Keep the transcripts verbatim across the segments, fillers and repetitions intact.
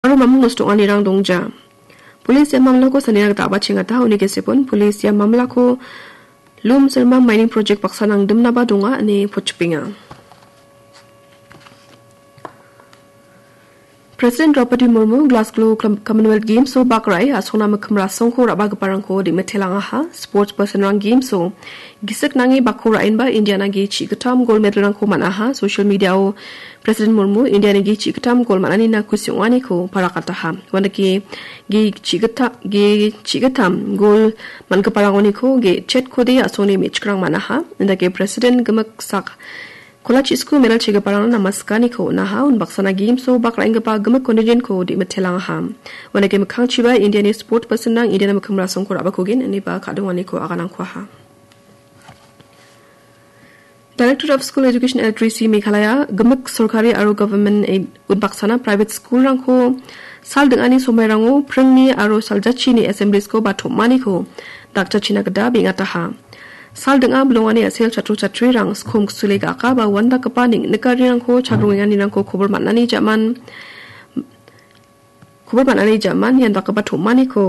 aro mamung nosto ong·anirang dongja. Polis ia mamlako sanina gita a·bachengata, uni gesepon polis ia mamlako Lum Sirmang mining project baksa nangdimnaba donga ine pochipenga. President Draupadi Murmu Glasgow Com-, Commonwealth Games-o bak ra·e asongna mikkim rasongko ra·bagiparangko dim·mitelangaha. Sports personrang Games-o gisik nange bakko ra·enba Indiana ge chi·gittam gold medal-rangko man·aha. Social media-o President Murmu Indiana ge chi·gittam gold man·anina kusi ong·aniko parakataha. Uandake ge chi·gitta-, ge chi·gittam gold man·giparangoniko ge chetkode asongni me·chikrang man·aha. Indake President gimik sak Kola chisku medal chegiparangna namaskaniko on·aha, unbaksana Games-o bak ra·enggipa gimik contingent-ko dim·mitelangaha. Uandake mikkangchiba Indiani sport personrang Indiana mikkim rasongko ra·bakogen ineba ka·donganiko aganangkuaha. Director of School Education L three C Meghalaya, gimik sorkari aro government aid unbaksana private school-rangko sal ding·ani somairango pringni aro saljachini assemblies-ko ba tom·aniko dakchachina gita beng·ataha. Sal ding·a bilongani a·sel chatro chatrirang skom ksule ga·aka ba uandakgipa neng·nikarirangko chadrongenganirangko kobor man·ani ja·man, kobor man·ani ja·man iandakgipa tom·aniko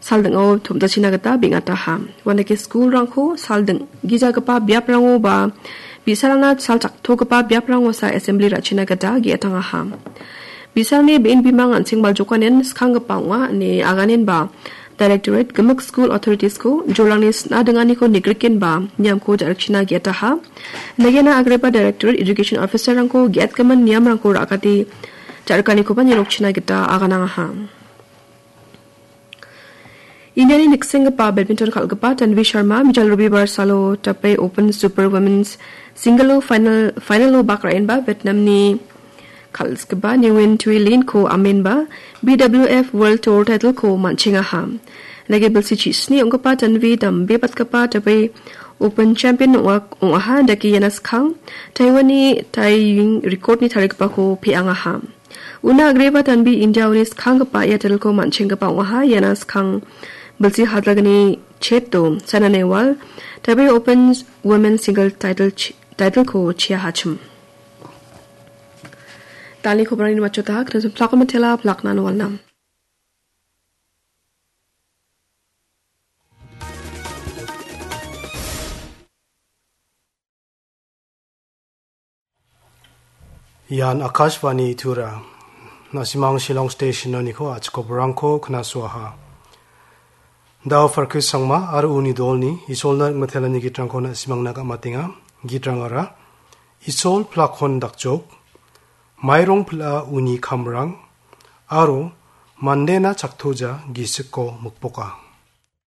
sal ding·o tom·jachina gita beng·ataha. Uandake skulrangko sal ding·gijagipa biaprango ba bi·sarangna sal chaktogipa biaprangosa assembly ra·china gita ge·atangaha. Bi·sarangni be·en bimang an·seng baljokanen skanggipa ong·a ine aganenba Directorate gimik school authorities-ko jolrangni sna dinganiko nigrikenba niamko ja·rikchina ge·ataha. Nagena agreba Directorate Education Officer-rangko ge·atgimin niamrangko ra·akate ja·rikanikoba nirokchina gita aganangaha. Indiani niksenggipa badminton kal·gipa Tanvi Sharma mijal robibar salo Taipei Open Super Women's Single-o final, final-o bak ra·enba Vietnamni kal·gipa Nguyen Thuy Linh-ko amenba B W F World Tour title-ko man·chengaha. Nage bilsi chisni ong·gipa Tanvi dambebatgipa Taipei Open champion ong·a-, ong·aha, dake iana skang Taiwan-ni Tai Ying record-ni tarigipako pe·angaha. Una agreba Tanvi India-oni skanggipa ia title-ko man·chenggipa ong·aha. Iana skang bilsi hadalgni cheto Saina Nehwal Taipei Open Women Single title ch-, title-ko chiahachim. Dani kobrani machotaha, knasim plako matela, plakna nualnam. Ian Akashvani Tura. Na·simang Shillong Station-oniko achikobrangko knasuaha. Dao Farkis Sangma aro uni dolni Isolna ringmitelani gitrangko na·simangna gam·atenga. Gitrangara, Isol plakon dakjok, mairong pil·a uni kamrang, aro mandena chaktoja gisikko mikboka.